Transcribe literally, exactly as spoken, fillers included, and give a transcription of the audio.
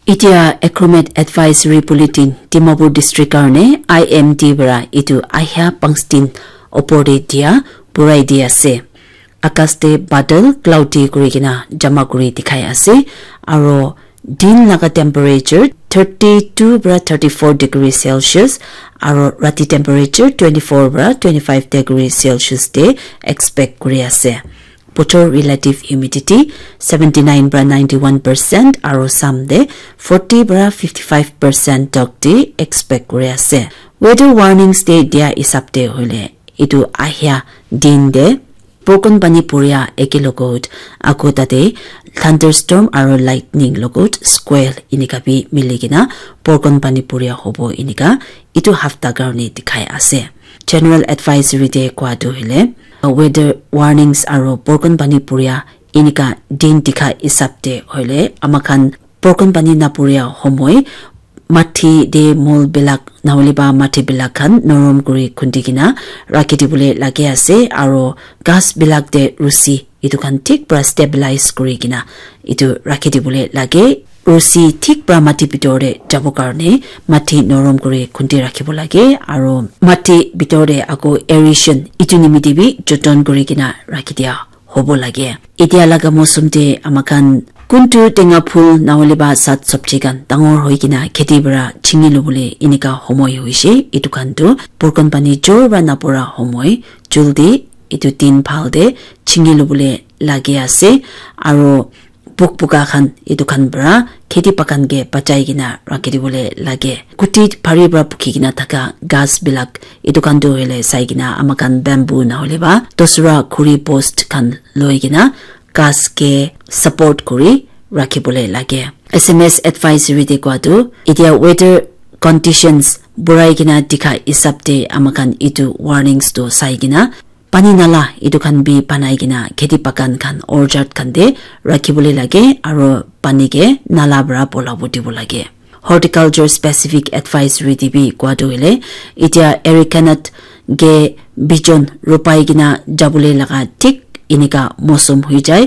Itia Acromet Advisory Bulletin Dimapur District karne I M D para itu ahia pangstin opor te dia burai di ase. Akas te badal cloudy kuri kena jama kuri dikhai ase, aro din laga temperature thirty two para thirty four degree Celsius, aro rati temperature twenty four para twenty five degree Celsius te expect kuri ase. Bochor relative humidity seventy nine para ninety one percent, aro sam te forty para fifty five percent tok te expect kuri ase. Weather warnings te dia hisab te hoile, itu ahia din te Porkon Pani puria eke logot, ako tate thunderstorm aro lightning logot squall inika bi mili kena Porkon Pani puria hobo inika itu hafta karne dikhai ase. General advisory te koa tu hoile, weather warnings aro Porkon Pani puria inika din dikha hisab te hoile, amakhan Porkon Pani napuria homoi mati te mol bilak nahole ba mati bilak khan norom kuri khundi kena rakhi dibole lage ase, aro ghas bilak te rusi itu khan thik para stabilize kuri kena itu rakhi dibole lage. Rusi thik para mati bitor te jabo karne mati norom kuri khundi rakhibo lage, aro mati bitor te ako aeration itu nimite bi joton kuri kena rakhi dia hobo lage. Itia laga mosum te amakhan kuntu tenga phul nahole ba sat sabji khan dangor hoi kena kheti para chingi lobole inika homoi hoishe, itu khan tu Porkon Pani jor para napura homoi, juldi itu din bhal te chingi lobole lage ase, aro pok puka khan itu khan para kheti bagan ke bachai kena rakhi dibole lage. Kuti bhari para pukhi kena thaka ghas bilak itu khan tu hoile sai kena amakhan bamboo nahole ba dosra khuri post khan loi kena ghas ke support kuri rakhi bole lage. S M S advisory te koa tu itia weather conditions burai kena dikha hisab te amakhan itu warnings tu sai kena pani nala itu khan bi banai kena kheti bagan khan orchard khan te rakhi bole lage, aro pani ke nala para bola bo dibo lage. Horticulture specific advisory te bi koa tu hoile, itia arecanut ke bijon rupai kena jabole laga thik inika mosum hoi jai.